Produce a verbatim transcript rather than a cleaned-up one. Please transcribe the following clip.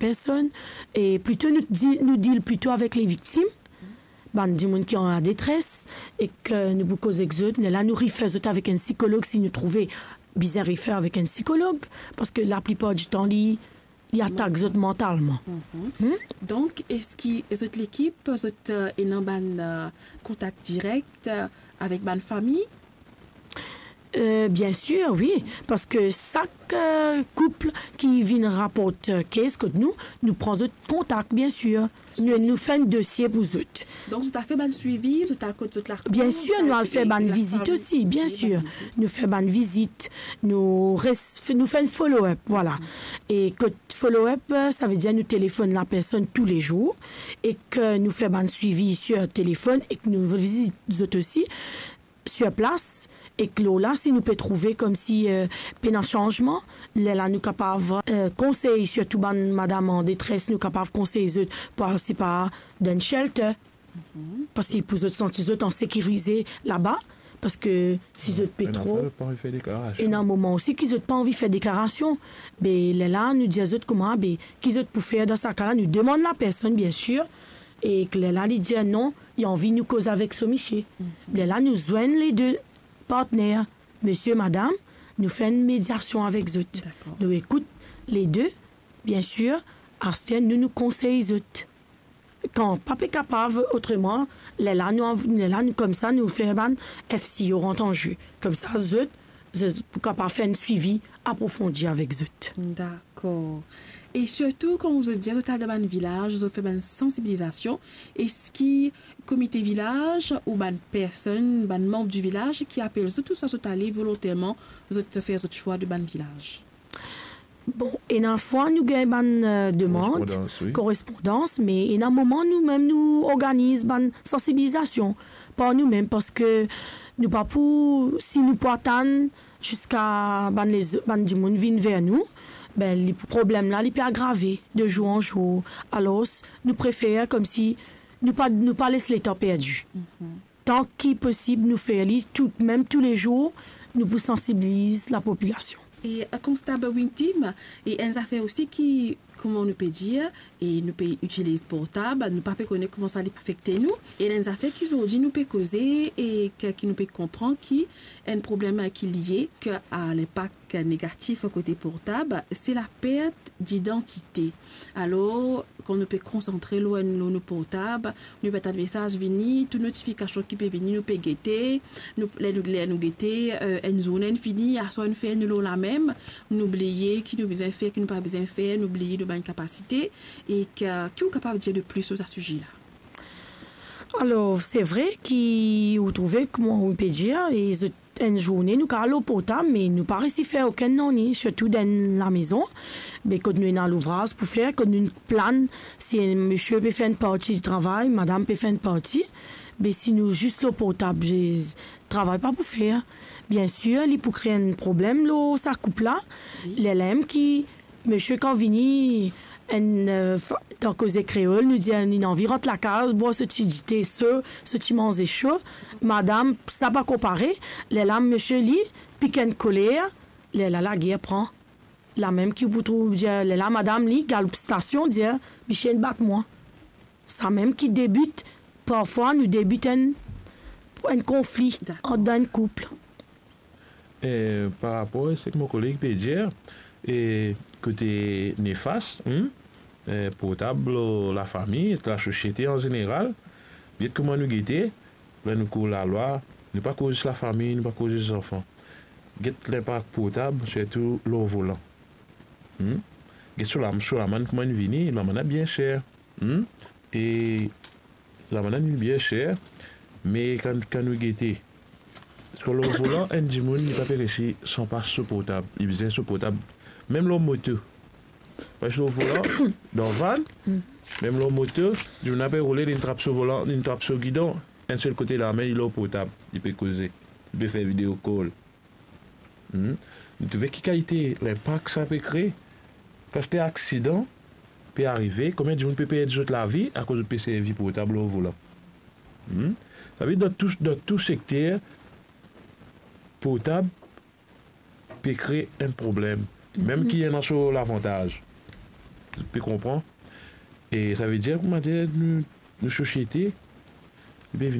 personn, e plito nou di-, nou deal plito avek leviktim, bann dimoun ki an detres, e ki nou pou koz ek zot, lerla nou refer zot avek enn sikolog si nou trouve bizin refer avek enn sikolog, parski laplipar ditan li, li atak zot mantalman. Hmm? Donk, eski zot lekip, zot, eh, ena bann, eh, kontak direk, eh, avek bann fami? Eh, bien sir, wi, parski sak, eh, koup ki vinn raport, eh, case kot nou, nou pran zot kontak, bien sir. Nou, nou fer enn dosie pou zot. Donk, zot a fer bann swivi, zot al kot zot lakour, bien sir, nou al fer bann vizit osi, bien sir. Nou fer bann vizit, nou res-, nou fer enn follow-up, vwala. E kot follow-up, eh, savedir nou telefonn lapersonn toulezour, e ki nou fer bann swivi sir telefonn, e ki nou vizit zot osi sir plas, e ki lor la, si nou pe trouve koumsi, eh, pena sanzman, lerla nou kapav, eh, konsey sirtou bann madam an detres, nou kapav konsey zot pou al, sepa, dan enn shelter. Parski pou zot santi zot an sekirize laba, parski si zot pe tro, ena moman osi ki zot pa anvi fer deklarasion. Be lerla nou dir zot kouma, be ki zot pou fer dan sa ka la, nou demann lapersonn, bien sir, e lerla li dir non, li anvi nou koz avek so misie. Lerla nou zwenn le de partner, misie, madam, nou fer enn mediasion avek zot. Dakor. Nou ekout le de, bien sir, aster nou, nou konsey zot. Kan pa pe kapav otreman, lerla nou anv-, lerla nou koumsa nou fer bann F C O rant an ze. Koumsa zot, zot pou kapav fer enn swivi aprofondi avek zot. Dakor. E sirtou, kan zot dir zot al dan bann vilaz, zot fer bann sansibilizasion, eski komite vilaz ou bann personn, bann manb di vilaz ki apel zot, ouswa zot ale volonterman, zot fer zot swa de bann vilaz? Bon, ena fwa nou gagn bann, eh, demann, korespondans, wi, korespondans, me ena moman nou mem nou organiz bann sansibilizasion par nou mem, parski nou pa pou, si nou pou atann ziska bann lez-, bann dimoun vinn ver nou, be li, problem la, li pe agrave de zour an zour. Alor, nou prefer koumsi nou pa, nou pa les letan perdi. Tan ki posib, nou fer li tou, mem toulezour, nou pou sansibiliz lapopilasion. E, eh, Konstab Wintim, e enn zafer osi ki, kouma nou pe dir, e nou pe itiliz portab, nou pa pe kone kouma sa li pe afekte nou. E enn zafer ki zordi nou pe koze e ki, ki nou pe konpran ki enn problem ki lie ki a linpak negatif kote portab, se lapert didantite. Alor, kan nou pe konsantre lor enn, lor nou portab, nou pe atann mesaz vini, tou notifikasion ki pe vini, nou pe gete, nou, ler nou, ler nou gete, eh, enn zourne inn fini, aswar inn fer nou lor lamem, nou bliye ki nou bizin fer, ki nou pa bizin fer, nou bliye nou bann kapasite, e ki, ki ou kapav dir de plis lor sa size la? Alor, se vre ki ou trouve, kouma ou pe dir, e zot enn zourne nou kapav lor portab, me nou pa resi fer okenn nanye, sirtou dan lamezon. Be kot nou ena louvraz pou fer, kot nou plan, si misie pe fer enn parti travay, madam pe fer enn parti, be si nou zis lor portab, be travay pa pou fer. Bien sir, li pou kre enn problem lor sa koup la. Lerla mem ki misie kan vini, enn, eh, fa-, dan koze kreol, nou dir, li ena anvi rant lakaz, bwar so ti dite so, so ti manze so. Madam, sa pa konpare, lerla misie li pik enn koler, lerla lager pran. Lamem ki pou trouv, dir, lerla madam li galoup stasion, dir, "Misie inn bat mwa." Samem ki debit, parfwa nou debit enn, enn konfli ant dan enn koup. Dakor. E, par rapor a seki mo koleg pe dir, e, kote nefas, hmm, e, portab lor lafami, lasosiete an zeneral, get kouma nou gete, ler nou koz lalwa, nou pa koz zis lafami, nou pa koz zis zanfan. Get linpak portab, sirtou lor volan. Hmm? Get so lam-, so lamann kouma inn vini, lamann la bien ser. Hmm? E lamann la inn bien ser, me kan, kan nou gete, parski lor volan, enn dimoun, li pa pe resi san pa so portab. Li bizin so portab. Mem lor moto. Parski lor volan, dan van, mem lor moto, dimoun la pe roule, li trap so volan, li trap so gidon, enn sel kote lame, li lor portab, li pe koze, li pe fer video call. Hmm. Nou trouve ki kalite linpak sa pe kre. Kan aster aksidan pe arive, konbien dimoun pe perdi zot lavi akoz zot pe servi portab lor volan? Hmm. Savedir dan tou, dan tou sekter, portab pe kre enn problem, mem ki ena so lavantaz. Ou pe konpran? E savedir, koumadir nou, nou sosiete, li pe vinn